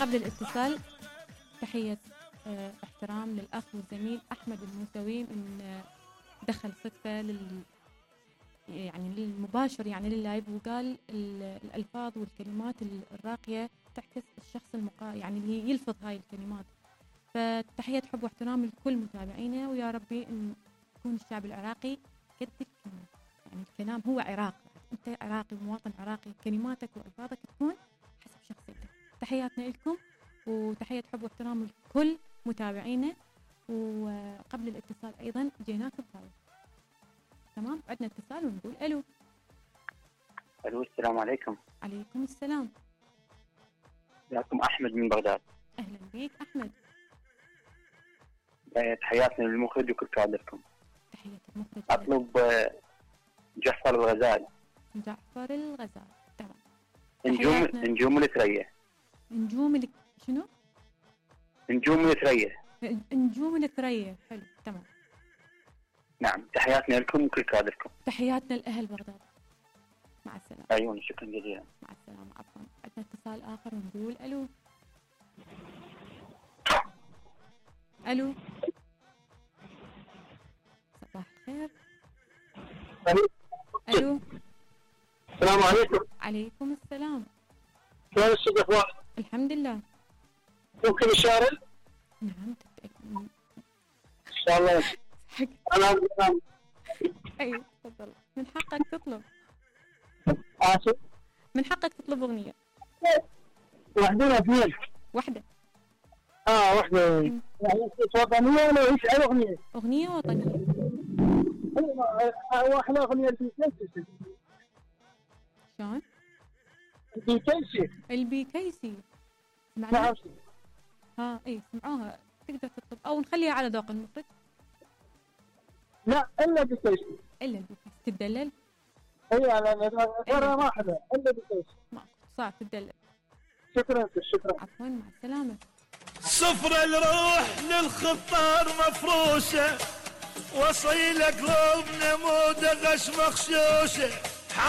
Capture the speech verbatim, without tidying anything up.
قبل الاتصال تحية اه احترام للأخ والزميل أحمد الموسوي من اه دخل صدفة لل يعني للمباشر يعني لللايف، وقال الألفاظ والكلمات الراقية تعكس الشخص المقا يعني اللي يلفظ هاي الكلمات. فتحية حب واحترام لكل متابعينا، ويا ربي ان يكون الشعب العراقي قد الكلمة، يعني الكلام هو عراق، انت عراقي ومواطن عراقي، كلماتك والفاظك تكون حسب شخصيتك. تحياتنا لكم وتحية حب واحترام لكل متابعينا. وقبل الاتصال ايضا جيناك بهاي تمام. عندنا اتصال ونقول الو. الو السلام عليكم. عليكم السلام. معكم احمد من بغداد. اهلا بيك احمد. تحياتنا للمخرج وكل كادركم. تحية المخرج. اطلب جعفر الغزال. جعفر الغزال تمام. نجوم نجوم الثريا. نجوم ال... شنو؟ نجوم الثريا. نجوم الثريا حلو تمام. نعم تحياتنا لكم وكل كادركم. تحياتنا لأهل بغداد. مع السلامة. أيوة شكرا جزيلا. مع السلامة. عفوا. عندنا اتصال آخر ونقول ألو. ألو. صباح الخير. ألو. السلام عليكم. عليكم السلام. شلون الصدق واحد؟ الحمد لله. ممكن الشارل؟ نعم إن شاء الله. حق. أنا أيوة تفضل، من حقك تطلب. آسف. من حقك تطلب أغنية. واحدة ولا اثنين؟ واحدة. آه واحدة. يعني وطنية ولا إيش أي أغنية؟ أغنية وطنية. أيوة واحدة أغنية البيكيسي. شلون؟ البيكيسي. البيكيسي. نعم. ها إيه سمعوها، تقدر تطلب أو نخليها على ذوق المخرج. لا إلا بيكيسي. إلا البيكيسي. تدلل؟ اي انا مرة واحدة الا بكيس. ماكو صعب تدلل. شكرا شكرا. عفوا مع السلامة. صفر الروح للخطار مفروشة، وصيل قلوبنا مو دغش مخشوشة.